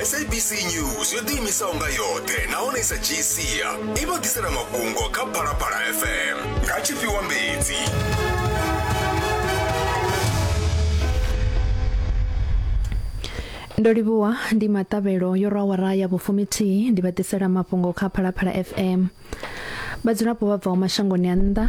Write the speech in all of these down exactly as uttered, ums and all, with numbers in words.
S A B C News yo ḓiimisaho nga yoṱhe nahone i sa dzhii sia i vha ḓisela mafhungo kha Phalaphala F M nga Tshifhiwa Mbedzi. Ndo livhuwa, ndi maṱavhelo yo rwa awara ya vhufumithihi, ndi vha ḓisela mafhungo kha Phalaphala F M. Vhadzulapo vha bvaho mashangoni a nnḓa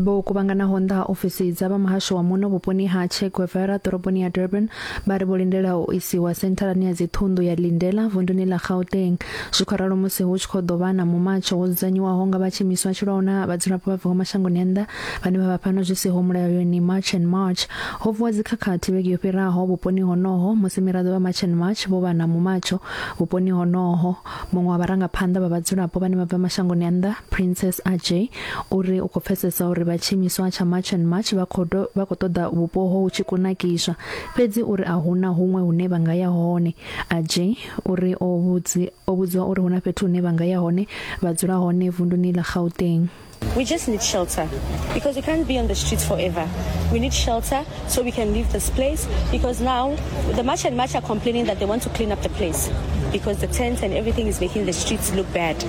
vho kuvhanganaho nnḓa ha ofisi dza vha muhasho wa muno vhuponi ha Che Guevara ḓoroboni ya Durban vha ri vho lindela u isiwa sentharani ya dziṱhunḓu ya Lindela vunduni ḽa Gauteng. Zwi khou ralo musi hu tshi khou ḓo vha na mumatsho wo dzudzanyiwaho nga vha tshiimiswa tshi lwaho na vhadzulapo vha bvaho mashangoni a nnḓa vhane vha vha fhano zwi siho mulayoni, March and March. Ho vuwa dzikhakhathi vhege yo fhiraho vhuponi honoho musi miraḓo vha March and March vho vha na mumatsho vhuponi honoho. Muṅwe wa vharangaphanḓa vha vhadzulapo vhane vha bva mashangoni a nnḓa, Princess Ajay, uri u khou pfesesa uri vha tshiimiswa tsha March and March vha khou vha khou ṱoḓa vhupo ho hu tshi kunakiswa, fhedzi uri a huna huṅwe hune vha nga ya hone. Ajay uri o vhudzi o vhudziwa uri huna fhethu hune vha nga ya hone vha dzula hone vunduni ḽa Gauteng. We just need shelter because we can't be on the streets forever. We need shelter so we can leave this place because now the March and March are complaining that they want to clean up the place because the tents and everything is making the streets look bad,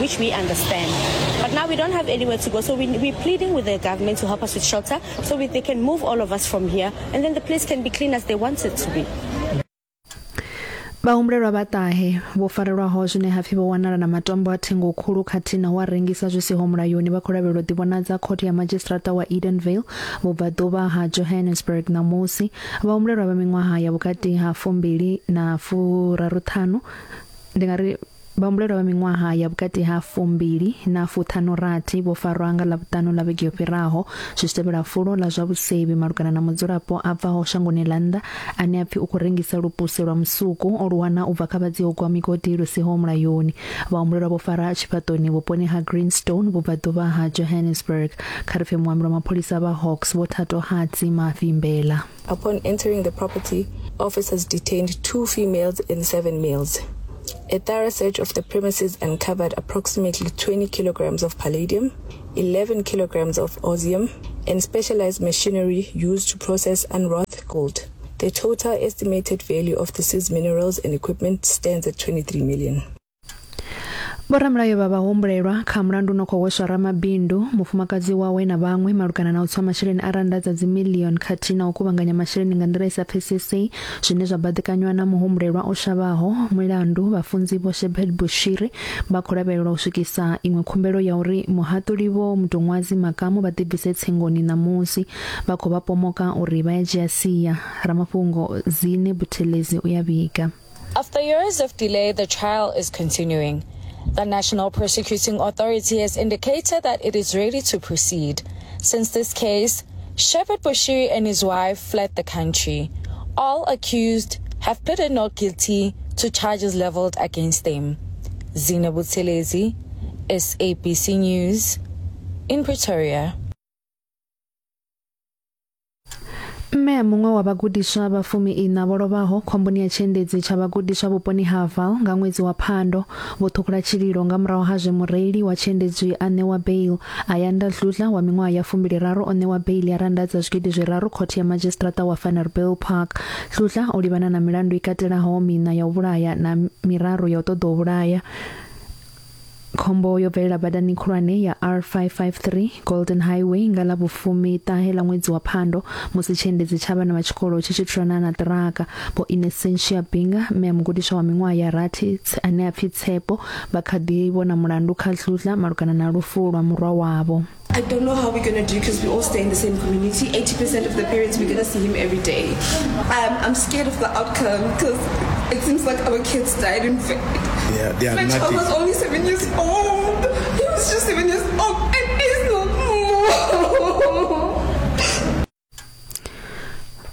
which we understand. But now we don't have anywhere to go, so we, we're pleading with the government to help us with shelter so we, they can move all of us from here and then the place can be clean as they want it to be. Vhahumbulelwa vha ṱahe vho farelwaho zwine hapfi vho wanala na matombo a thengo khulu khathihi na u a rengisa zwi siho mulayoni vha khou lavhelelwa u ḓivhonadza khothe ya madzhisiṱiraṱa wa Edenvale vhubvaḓuvha ha Johannesburg ṋamusi. Vhahumbulelwa vha miṅwaha ya vhukati ha fumbili na furaruṱhanu, ndi nga ri vhahumbulelwa vha miṅwaha ya vhukati ha fumbili na fuṱhanu rathi, vho farwa nga Ḽavhuṱanu ḽa vhege yo fhiraho zwi tshi tevhela fulo ḽa zwa vhusevhi malugana na mudzulapo a bvaho shangoni ḽa nnḓa ane a pfi u khou rengisa lupuse lwa musuku o lu wana u bva kha vhadzia u gwa migodi lu siho mulayoni. Vhahumbulelwa vho fara tshifhaṱoni vhuponi ha Greenstone vhubvaḓuvha ha Johannesburg. Kha ri pfe muambi wa mapholisa vha Hawks, Vho Thatohatsi Mavimbela. Upon entering the property, officers detained two females and seven males. A thorough search of the premises uncovered approximately twenty kilograms of palladium, eleven kilograms of osmium, and specialized machinery used to process unwrought gold. The total estimated value of the seized minerals and equipment stands at twenty-three million. Vhoramulayo vha vhahumbulelwa kha mulandu no khou hweswa ramabindu, mufumakadzi wawe na vhaṅwe malugana na u tswa masheleni a rannda dza dzimiḽioni khathihi na u kuvhanganya masheleni nga nḓila i sa pfesesei zwine zwa baḓekanywa na muhumbulelwa o shavhaho mulandu, vhafunzi Vho Shepherd Bushiri, vha khou lavhelelwa u swikisa iṅwe khumbelo ya uri muhaṱuli Vho Mdumazi Makamu vha ḓibvise tsengoni ṋamusi. Vha khou vha pomoka uri vha ya dzhia sia. Ramafhungo Zine Buthelezi u ya vhiga. After years of delay, the trial is continuing. The National Prosecuting Authority has indicated that it is ready to proceed. Since this case, Shepherd Bushiri and his wife fled the country. All accused have pleaded not guilty to charges leveled against them. Zina Buthelezi, S A B C News, in Pretoria. Mme a muṅwe wa vhagudiswa vha fumi iṋa vho lovhaho khomboni ya tshiendedzi tsha vhagudiswa vhuponi ha Vaal nga ṅwedzi wa Phando vho ṱhukhula tshililo nga murahu ha zwe mureili wa tshiendedzi a ṋewa bail. Ayanda Dludla wa miṅwaha ya fumbili raru o ṋewa bail ya rannda dza zwigidi zwiraru khothe ya madzhisiṱiraṱa wa Vanderbijlpark. Dludla o livhana na milandu i katelaho miṋa ya u vhulaya na miraru ya u ṱoḓa u vhulaya. Khombo yo bvelela badani khulwane ya R five five three Golden Highway nga ḽa vhufumi ṱahe ḽa ṅwedzi wa Phando musi tshiendedzi tsha vhana vha tshikolo tshi tshi thulana na ṱiraka. Vho Innocentia Binga, mme a mugudiswa wa miṅwaha ya rathi ane a pfi Tshepo, vha kha ḓi vhona mulandu kha Dludla malugana na lufu lwa murwa wavho. I don't know how we're going to do because we all stay in the same community. eighty percent of the parents, we're going to see him every day. Um, I'm scared of the outcome because it seems like our kids died in vain. Yeah, they are My child nothing. Was only seven years old. He was just seven years old and he's not more.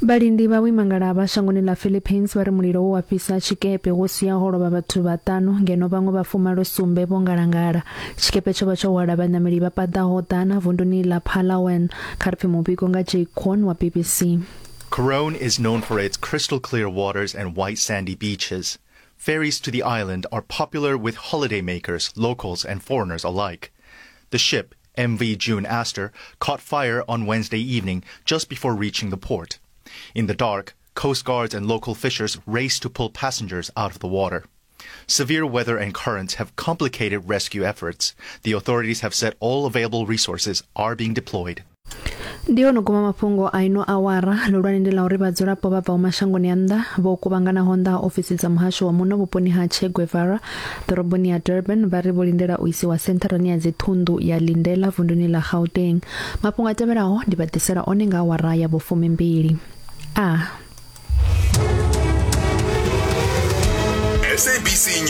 Vhalindi vha vhuimangalavha shangoni ḽa Philippines vha ri mulilo wo wa fhisa tshikepe wo siaho lovha vhathu vhaṱanu ngeno vhaṅwe vha fumalo sumbe vho ngalangala. Tshikepe tsho vha tsho hwala vhaṋameli vha paḓaho ḓana vunduni ḽa Palawan. Kha ri pfe muvhigo nga Jake Kwon wa B B C. Coron is known for its crystal clear waters and white sandy beaches. Ferries to the island are popular with holidaymakers, locals, and foreigners alike. The ship, M V June Aster, caught fire on Wednesday evening just before reaching the port. In the dark, Coast guards and local fishers raced to pull passengers out of the water. Severe weather and currents have complicated rescue efforts. The authorities have said all available resources are being deployed. Ndi hone guma mafhungo a ino awara. Ḽihulwane ndi ḽa uri vhadzulapo vha bvaho mashangoni a nnḓa vho kuvhanganaho nnḓa ha ofisi dza muhasho wa muno vhuponi ha Che Guevara ḓoroboni ya Durban vha ri vho lindela u isiwa sentharani ya dziṱhunḓu ya Lindela vunduni ḽa Gauteng. Mafhungo a tevhelaho ndi vha ḓisela one nga awara ya vhufumimbili. A S A B C.